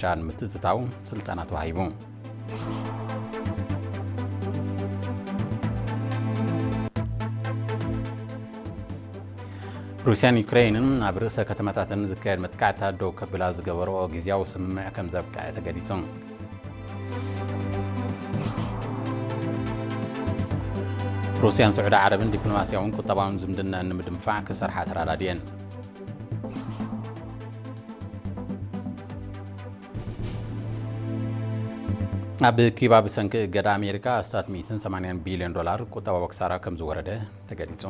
ሻን ምትእትታው ስልጠና ተዋሂቡ። ሩስያን ዩክሬንን ኣብ ርእሰ ከተማታተን ዝካየድ መጥቃዕትታት ደው ከብላ ዝገበርኦ ግዝያዊ ስምምዕ ከም ዘብቅዐ ተገሊጹ። ሩስያን ስዑዲ ዓረብን ዲፕሎማስያውን ቁጠባውን ዝምድናን ንምድንፋዕ ክሰርሓ ተራዳድየን። ኣብ ኪባ ብሰንኪ እገዳ ኣሜሪካ ኣስታት ሚእትን ሰማንያን ቢልዮን ዶላር ቁጠባዊ ክሳራ ከም ዝወረደ ተገሊጹ።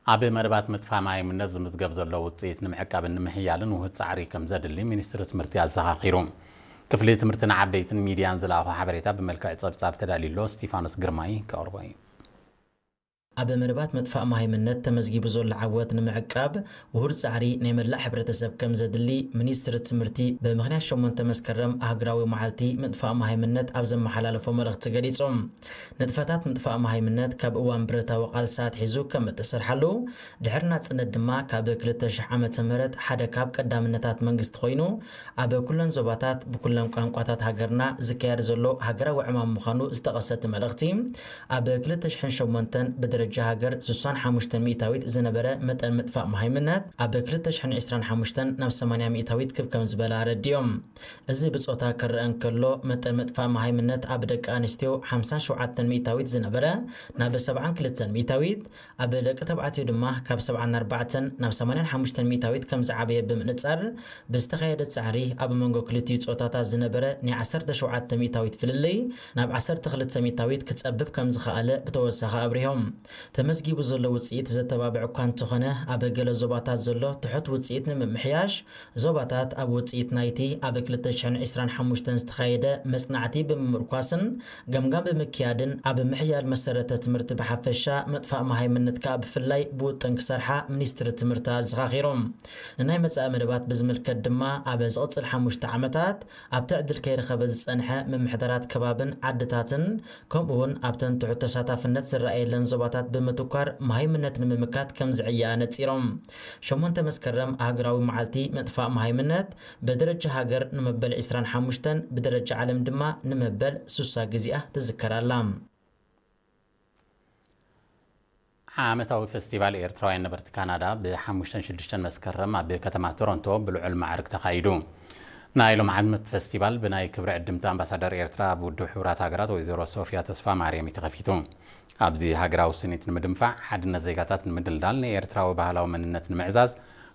ኣብ መደባት ምጥፋእ ማይምነት ዝምዝገብ ዘሎ ውጽኢት ንምዕቃብን ንምሕያልን ውህድ ጻዕሪ ከም ዘድሊ ሚኒስትሪ ትምህርቲ ኣዘኻኺሩ። ክፍሊ ትምህርቲ ንዓበይትን ሚድያን ዝለኣኾ ሓበሬታ ብመልክዕ ጸብጻብ ተዳልዩ ኣሎ። ስቲፋኖስ ግርማይ ከቕርቦ እዩ። ኣብ መደባት ምጥፋእ ማይምነት ተመዝጊቡ ዘሎ ዓወት ንምዕቃብ ውሁድ ጻዕሪ ናይ መላእ ሕብረተሰብ ከም ዘድሊ ሚኒስትሪ ትምህርቲ ብምኽንያት ሸሞንተ መስከረም ኣህግራዊ መዓልቲ ምጥፋእ ማይምነት ኣብ ዘመሓላለፎ መልእኽቲ ገሊጹ። ንጥፈታት ምጥፋእ ማይምነት ካብ እዋን ብረታዊ ቃልሲ ኣትሒዙ ከም እተሰርሓሉ፣ ድሕሪ ናጽነት ድማ ካብ ክልተ ሽሕ ዓመተ ምህረት ሓደ ካብ ቀዳምነታት መንግስቲ ኮይኑ፣ ኣብ ኩለን ዞባታት ብኩለን ቋንቋታት ሃገርና ዝካየድ ዘሎ ሃገራዊ ዕማም ምዃኑ ዝጠቐሰ እቲ መልእኽቲ፣ ኣብ ክልተ ሽሕን ሸሞንተን ብደረጃ ሃገር ስሳን ሓሙሽተን ሚእታዊት ዝነበረ መጠን ምጥፋእ መሃይምነት፣ ኣብ ክልተ ሽሕን ዕስራን ሓሙሽተን ናብ ሰማንያ ሚእታዊት ክብ ከም ዝበለ ኣረዲኦም። እዚ ብጾታ ክረአ እንከሎ፣ መጠን ምጥፋእ መሃይምነት ኣብ ደቂ ኣንስትዮ ሓምሳን ሸውዓተን ሚእታዊት ዝነበረ ናብ ሰብዓን ክልተን ሚእታዊት፣ ኣብ ደቂ ተባዕትዮ ድማ ካብ ሰብዓን ኣርባዕተን ናብ ሰማንያን ሓሙሽተን ሚእታዊት ከም ዝዓበየ ብምንጻር፣ ብዝተኻየደ ጻዕሪ ኣብ መንጎ ክልቲኡ ጾታታት ዝነበረ ናይ ዓሰርተ ሸውዓተ ሚእታዊት ፍልልይ ናብ ዓሰርተ ክልተ ሚእታዊት ክጸብብ ከም ዝኸኣለ ብተወሳኺ ኣብሪሆም። ተመዝጊቡ ዘሎ ውጽኢት ዘተባብዕ እኳ እንተኾነ፣ ኣብ ገለ ዞባታት ዘሎ ትሑት ውጽኢት ንምምሕያሽ፣ ዞባታት ኣብ ውጽኢት ናይቲ ኣብ ክልተ ሽሕን ዕስራን ሓሙሽተን ዝተኻየደ መጽናዕቲ ብምምርኳስን ገምጋም ብምክያድን ኣብ ምሕያል መሰረተ ትምህርቲ ብሓፈሻ ምጥፋእ መሃይምነት ከኣ ብፍላይ ብውጥን ክሰርሓ ሚኒስትሪ ትምህርቲ ኣዘኻኺሮም። ንናይ መጻኢ መደባት ብዝምልከት ድማ ኣብ ዝቕጽል ሓሙሽተ ዓመታት ኣብቲ ዕድል ከይረኸበ ዝጸንሐ ምምሕዳራት ከባብን ዓድታትን ከምኡ እውን ኣብተን ትሑት ተሳታፍነት ዝረኣየለን ዞባታት ብምትኳር መሃይምነት ንምምካት ከም ዝዕየኣ ነጺሮም። ሸሞንተ መስከረም ኣህግራዊ መዓልቲ ምጥፋእ መሃይምነት ብደረጃ ሃገር ንመበል ዕስራን ሓሙሽተን ብደረጃ ዓለም ድማ ንመበል ሱሳ ግዜኣ ትዝከር ኣላ። ዓመታዊ ፈስቲቫል ኤርትራውያን ነበርቲ ካናዳ ብሓሙሽተን ሽዱሽተን መስከረም ኣብ ከተማ ቶሮንቶ ብልዑል ማዕርግ ተኻይዱ። ናይ ሎም ዓመት ፈስቲቫል ብናይ ክብሪ ዕድምቲ ኣምባሳደር ኤርትራ ኣብ ውድብ ሕቡራት ሃገራት ወይዘሮ ሶፊያ ተስፋ ማርያም እዩ ተኸፊቱ። ኣብዚ ሃገራዊ ስኒት ንምድንፋዕ፣ ሓድነት ዜጋታት ንምድልዳል፣ ንኤርትራዊ ባህላዊ መንነት ንምዕዛዝ፣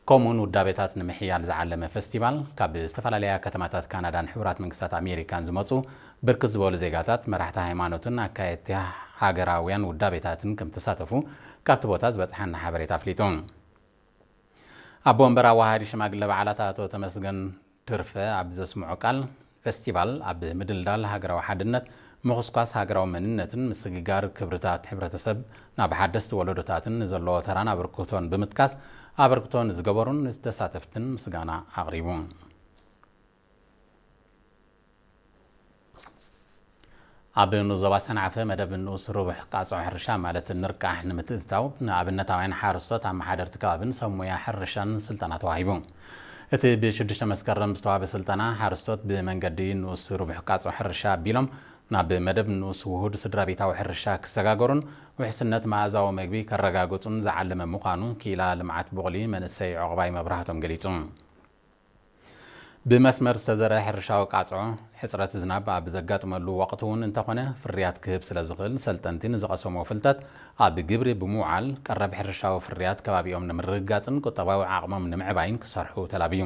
ከምኡውን ውዳቤታት ንምሕያል ዝዓለመ ፈስቲቫል፣ ካብ ዝተፈላለያ ከተማታት ካናዳን ሕቡራት መንግስታት ኣሜሪካን ዝመጹ ብርክት ዝበሉ ዜጋታት፣ መራሕቲ ሃይማኖትን ኣካየድቲ ሃገራውያን ውዳቤታትን ከም ተሳተፉ ካብቲ ቦታ ዝበጽሓና ሓበሬታ ኣፍሊጡ። ኣቦ ወንበር ኣዋሃዲ ሽማግለ በዓላት ኣቶ ተመስገን ድርፈ ኣብ ዘስምዖ ቃል፣ ፈስቲቫል ኣብ ምድልዳል ሃገራዊ ሓድነት፣ ምኹስኳስ ሃገራዊ መንነትን ምስግጋር ክብርታት ሕብረተሰብ ናብ ሓደስቲ ወለዶታትን ንዘለዎ ተራን ኣበርክቶን ብምጥቃስ፣ ኣበርክቶ ንዝገበሩን ንተሳተፍትን ምስጋና ኣቕሪቡ። ኣብ ንኡስ ዞባ ሰንዓፈ መደብ ንኡስ ርቡሕ ቃጽዖ ሕርሻ ማለት ንርቃሕ ንምትእትታው ንኣብነታውያን ሓረስቶት ኣመሓደርቲ ከባብን ሰብ ሞያ ሕርሻን ስልጠና ተዋሂቡ። እቲ ብሽዱሽተ መስከረም ዝተዋህበ ስልጠና ሓረስቶት ብመንገዲ ንኡስ ርቡሕ ቃጽዖ ሕርሻ ኣቢሎም ናብ መደብ ንኡስ ውሁድ ስድራ ቤታዊ ሕርሻ ክሰጋገሩን ውሕስነት መኣዛዊ መግቢ ከረጋግጹን ዝዓለመ ምዃኑ ክኢላ ልምዓት ቡቕሊ መንእሰይ ዑቕባይ መብራህቶም ገሊጹ። ብመስመር ዝተዘርአ ሕርሻዊ ቃጽዖ፣ ሕጽረት ዝናብ ኣብ ዘጋጥመሉ ወቕቲ እውን እንተኾነ፣ ፍርያት ክህብ ስለ ዝኽእል፣ ሰልጠንቲ ንዝቐሰምዎ ፍልጠት ኣብ ግብሪ ብምውዓል፣ ቀረብ ሕርሻዊ ፍርያት ከባቢኦም ንምርግጋጽን ቁጠባዊ ዓቕሞም ንምዕባይን ክሰርሑ ተላብዩ።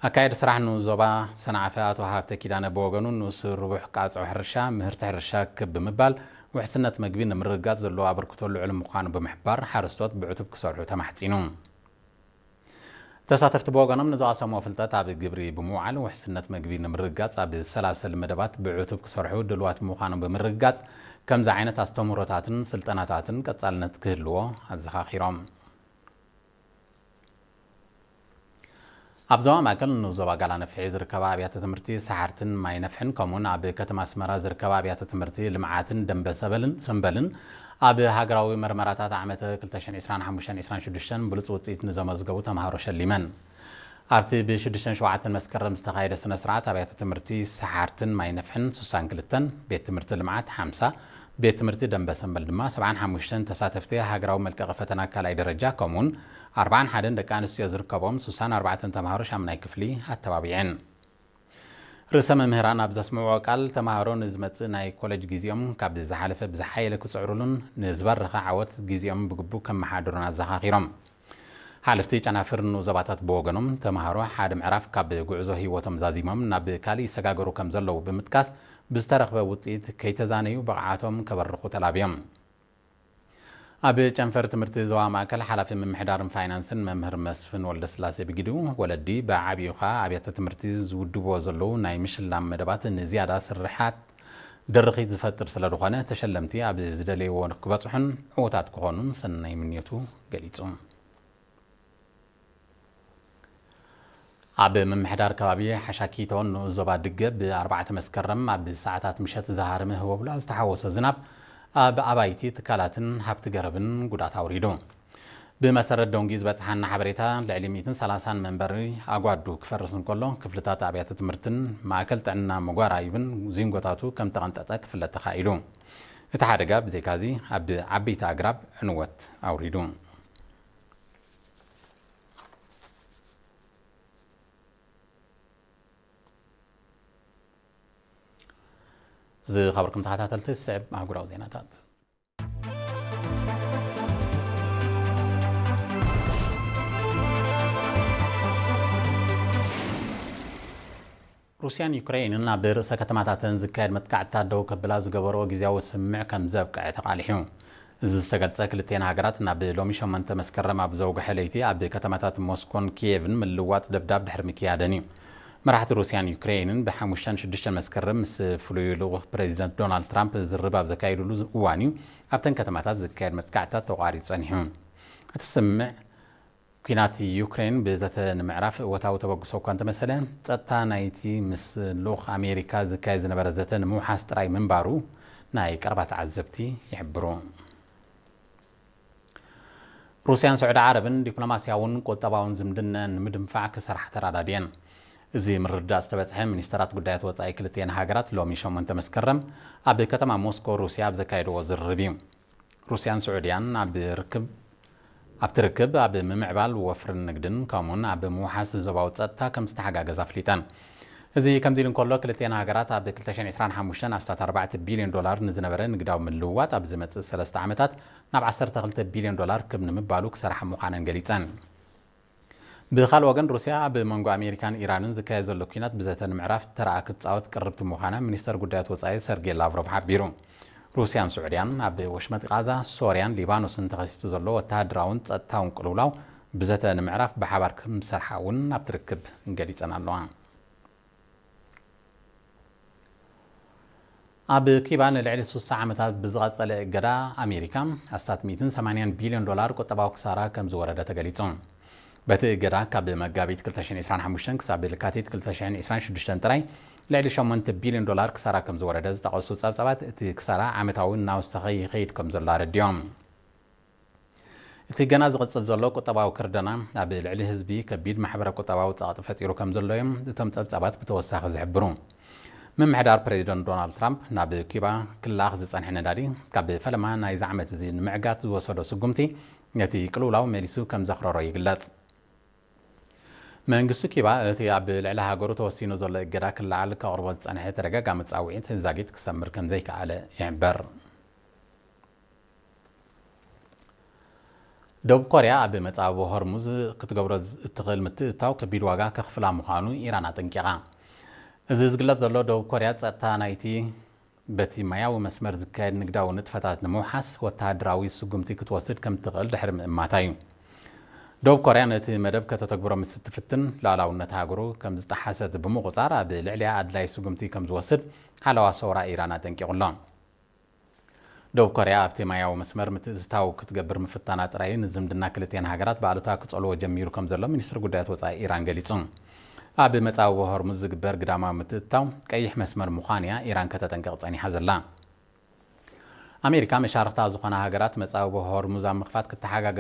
ኣካየዲ ስራሕ ንኡስ ዞባ ሰንዓፈ ኣቶ ሃብተ ኪዳነ ብወገኑ፣ ንኡስ ርቡሕ ቃጽዖ ሕርሻ፣ ምህርቲ ሕርሻ ክብ ብምባል፣ ውሕስነት መግቢ ንምርግጋጽ ዘለዎ ኣበርክቶ ልዑል ምዃኑ ብምሕባር፣ ሓረስቶት ብዕቱብ ክሰርሑ ተማሕጺኑ። ተሳተፍቲ ብወገኖም ንዝቐሰምዎ ፍልጠት ኣብ ግብሪ ብምውዓል ውሕስነት መግቢ ንምርግጋጽ ኣብ ዝሰላሰል መደባት ብዕቱብ ክሰርሑ ድልዋት ምዃኖም ብምርግጋጽ፣ ከምዚ ዓይነት ኣስተምህሮታትን ስልጠናታትን ቀጻልነት ክህልዎ ኣዘኻኺሮም። ኣብ ዞባ ማእከል ንኡስ ዞባ ጋላ ነፍሒ ዝርከባ ኣብያተ ትምህርቲ ሰሓርትን ማይ ነፍሕን ከምኡውን ኣብ ከተማ ኣስመራ ዝርከባ ኣብያተ ትምህርቲ ልምዓትን ደንበ ሰበልን ሰምበልን ኣብ ሃገራዊ መርመራታት ዓመት ክልተ ሽሕን ዕስራን ሓሙሽተን ዕስራን ሽዱሽተን ብሉጽ ውጽኢት ንዘመዝገቡ ተምሃሮ ሸሊመን። ኣብቲ ብ ሽዱሽተን ሸውዓተን መስከረም ዝተኻየደ ስነ ስርዓት ኣብያተ ትምህርቲ ሰሓርትን ማይ ነፍሕን ስሳን ክልተን፣ ቤት ትምህርቲ ልምዓት ሓምሳ፣ ቤት ትምህርቲ ደንበ ሰንበል ድማ ሰብዓን ሓሙሽተን ተሳተፍቲ ሃገራዊ መልቀቒ ፈተና ካልኣይ ደረጃ ከምኡውን ኣርባዓን ሓደን ደቂ ኣንስትዮ ዝርከቦም ስሳን ኣርባዕተን ተምሃሮ ሻምናይ ክፍሊ ኣተባቢዐን። ርእሰ መምህራን ኣብ ዘስምዕዎ ቃል፣ ተምሃሮ ንዝመጽእ ናይ ኮለጅ ግዜኦም ካብ ዝሓለፈ ብዝሓየለ ክጽዕሩሉን ንዝበረኸ ዓወት ግዜኦም ብግቡእ ከመሓድሩን ኣዘኻኺሮም። ሓለፍቲ ጨናፍር ንኡስ ዞባታት ብወገኖም፣ ተምሃሮ ሓደ ምዕራፍ ካብ ጉዕዞ ህይወቶም ዛዚሞም ናብ ካሊእ ይሰጋገሩ ከም ዘለዉ ብምጥቃስ፣ ብዝተረኽበ ውጽኢት ከይተዛነዩ ብቕዓቶም ከበርኹ ተላብዮም። ኣብ ጨንፈር ትምህርቲ ዞባ ማእከል ሓላፊ ምምሕዳርን ፋይናንስን መምህር መስፍን ወልደስላሴ ብግዲኡ፣ ወለዲ ብዓቢኡ ከኣ ኣብያተ ትምህርቲ ዝውድብዎ ዘለዉ ናይ ምሽላም መደባት ንዝያዳ ስርሓት ድርኺት ዝፈጥር ስለ ዝኾነ፣ ተሸለምቲ ኣብ ዝደለይዎ ክበጽሑን ዕዉታት ክኾኑን ሰናይ ምንዮቱ ገሊጹ። ኣብ ምምሕዳር ከባቢ ሓሻኪቶ ንኡስ ዞባ ድገ ብ ኣርባዕተ መስከረም ኣብ ሰዓታት ምሸት ዝሃረመ ህቦብላ ዝተሓወሶ ዝናብ ኣብ ኣባይቲ፣ ትካላትን ሃብቲ ገረብን ጉድኣት ኣውሪዱ። ብመሰረት ደንጉዩ ዝበጽሓና ሓበሬታ፣ ልዕሊ ሚእትን ሰላሳን መንበሪ ኣጓዱ ክፈርስ እንከሎ፣ ክፍልታት ኣብያተ ትምህርትን ማእከል ጥዕና መጓራይብን ዚንጎታቱ ከም ተቐንጠጠ ክፍለጥ ተኻኢሉ። እቲ ሓደጋ ብዘይካዚ ኣብ ዓበይቲ ኣግራብ ዕንወት ኣውሪዱ። ዝኸበርኩም ተኸታተልቲ፣ ዝስዕብ ኣህጉራዊ ዜናታት። ሩስያን ዩክሬንን ኣብ ርእሰ ከተማታተን ዝካየድ መጥቃዕትታት ደው ከብላ ዝገበርኦ ግዝያዊ ስምምዕ ከም ዘብቅዐ ተቓሊሑ። እዚ ዝተገልጸ፣ ክልቲኤን ሃገራት ናብ ሎሚ ሸሞንተ መስከረም ኣብ ዘውግሐ ለይቲ ኣብ ከተማታት ሞስኮን ኪየቭን ምልዋጥ ደብዳብ ድሕሪ ምክያደን እዩ። መራሕቲ ሩስያን ዩክሬንን ብሓሙሽተን ሽዱሽተን መስከረም ምስ ፍሉይ ልኡኽ ፕሬዚደንት ዶናልድ ትራምፕ ዝርርብ ኣብ ዘካየድሉ እዋን እዩ ኣብተን ከተማታት ዝካየድ መጥቃዕትታት ተቋሪጹ ጸኒሑ። እቲ ስምምዕ፣ ኲናት ዩክሬን ብዘተ ንምዕራፍ እወታዊ ተበግሶ እኳ እንተመሰለ፣ ጸጥታ ናይቲ ምስ ልኡኽ ኣሜሪካ ዝካየድ ዝነበረ ዘተ ንምውሓስ ጥራይ ምንባሩ ናይ ቀረባ ተዓዘብቲ ይሕብሩ። ሩስያን ስዑዲ ዓረብን ዲፕሎማስያውን ቁጠባውን ዝምድነአን ንምድንፋዕ ክሰርሓ ተራዳድየን። እዚ ምርድዳእ ዝተበጽሐ፣ ሚኒስተራት ጉዳያት ወጻኢ ክልቲኤን ሃገራት ሎሚ ሸሞንተ መስከረም ኣብ ከተማ ሞስኮ ሩስያ ኣብ ዘካየድዎ ዝርርብ እዩ። ሩስያን ስዑድያን ኣብ ርክብ፣ ኣብቲ ርክብ ኣብ ምምዕባል ወፍርን ንግድን ከምኡውን ኣብ ምውሓስ ዞባዊ ጸጥታ ከም ዝተሓጋገዛ ኣፍሊጠን። እዚ ከምዚ ኢሉ እንከሎ፣ ክልቲኤን ሃገራት ኣብ ክልተ ሽሕን ዕስራን ሓሙሽተን ኣስታት ኣርባዕተ ቢልዮን ዶላር ንዝነበረ ንግዳዊ ምልውዋጥ ኣብ ዝመጽእ ሰለስተ ዓመታት ናብ ዓሰርተ ክልተ ቢልዮን ዶላር ክብ ንምባሉ ክሰርሓ ምዃነን ገሊጸን። ብኻልእ ወገን፣ ሩስያ ኣብ መንጎ ኣሜሪካን ኢራንን ዝካየድ ዘሎ ኲናት ብዘተ ንምዕራፍ ተራኣ ክትጻወት ቅርብቲ ምዃና ሚኒስተር ጉዳያት ወጻኢ ሰርጌይ ላቭሮቭ ሓቢሩ። ሩስያን ስዑድያን ኣብ ወሽመጥ ቃዛ፣ ሶርያን ሊባኖስን ተኸሲቱ ዘሎ ወተሃደራውን ጸጥታውን ቅልውላው ብዘተ ንምዕራፍ ብሓባር ክምሰርሓ እውን ኣብቲ ርክብ ገሊጸን ኣለዋ። ኣብ ኪባ ንልዕሊ ሱሳ ዓመታት ብዝቐጸለ እገዳ ኣሜሪካ፣ ኣስታት ሚእትን ሰማንያን ቢልዮን ዶላር ቁጠባዊ ክሳራ ከም ዝወረደ ተገሊጹ። በቲ እገዳ፣ ካብ መጋቢት ክልተ ሽሕን ዕስራን ሓሙሽተን ክሳብ ለካቲት ክልተ ሽሕን ዕስራን ሽዱሽተን ጥራይ፣ ልዕሊ ሸሞንተ ቢልዮን ዶላር ክሳራ ከም ዝወረደ ዝጠቐሱ ጸብጻባት፣ እቲ ክሳራ ዓመታዊ እናወሰኸ ይኸይድ ከም ዘሎ ኣረዲኦም። እቲ ገና ዝቕጽል ዘሎ ቁጠባዊ ክርደና፣ ኣብ ልዕሊ ህዝቢ ከቢድ ማሕበረ ቁጠባዊ ጸቕጢ ፈጢሩ ከም ዘሎ እዮም እቶም ጸብጻባት ብተወሳኺ ዝሕብሩ። ምምሕዳር ፕሬዚደንት ዶናልድ ትራምፕ፣ ናብ ኪባ ክለኣኽ ዝጸንሐ ነዳዲ፣ ካብ ፈለማ ናይዚ ዓመት እዚ ንምዕጋት ዝወሰዶ ስጉምቲ፣ ነቲ ቅልውላው መሊሱ ከም ዘኽረሮ ይግለጽ። መንግስቲ ኪባ፣ እቲ ኣብ ልዕሊ ሃገሩ ተወሲኑ ዘሎ እገዳ ክለዓል ከቕርቦ ዝጸንሐ ተደጋጋሚ ጻውዒት ዛጊት ክሰምር ከም ዘይከኣለ ይሕበር። ደቡብ ኮርያ ኣብ መጻብቦ ሆርሙዝ ክትገብሮ እትኽእል ምትእትታው ከቢድ ዋጋ ከኽፍላ ምዃኑ ኢራን ኣጠንቂቓ። እዚ ዝግለጽ ዘሎ፣ ደቡብ ኮርያ ጸጥታ ናይቲ በቲ ማያዊ መስመር ዝካየድ ንግዳዊ ንጥፈታት ንምውሓስ ወተሃደራዊ ስጉምቲ ክትወስድ ከም ትኽእል ድሕሪ ምእማታ እዩ። ደቡብ ኮርያ ነቲ መደብ ከተተግብሮ ምስ እትፍትን፣ ሉዓላውነት ሃገሩ ከም ዝጠሓሰት ብምቑጻር፣ ኣብ ልዕሊኣ ኣድላዪ ስጉምቲ ከም ዝወስድ ሓለዋ ሰውራ ኢራን ኣጠንቂቑ ኣሎ። ደቡብ ኮርያ ኣብቲ ማያዊ መስመር ምትእትታው ክትገብር ምፍታና ጥራይ፣ ንዝምድና ክልቲኤን ሃገራት ብኣሉታ ክጸልዎ ጀሚሩ ከም ዘሎ ሚኒስትሪ ጉዳያት ወጻኢ ኢራን ገሊጹ። ኣብ መጻብቦ ሆርሙዝ ዝግበር ግዳማዊ ምትእትታው ቀይሕ መስመር ምዃኑ'ያ ኢራን ከተጠንቅቕ ጸኒሓ ዘላ። ኣሜሪካ መሻርኽታ ዝኾና ሃገራት መጻብቦ ሆርሙዝ ኣብ ምኽፋት ክተሓጋገዛ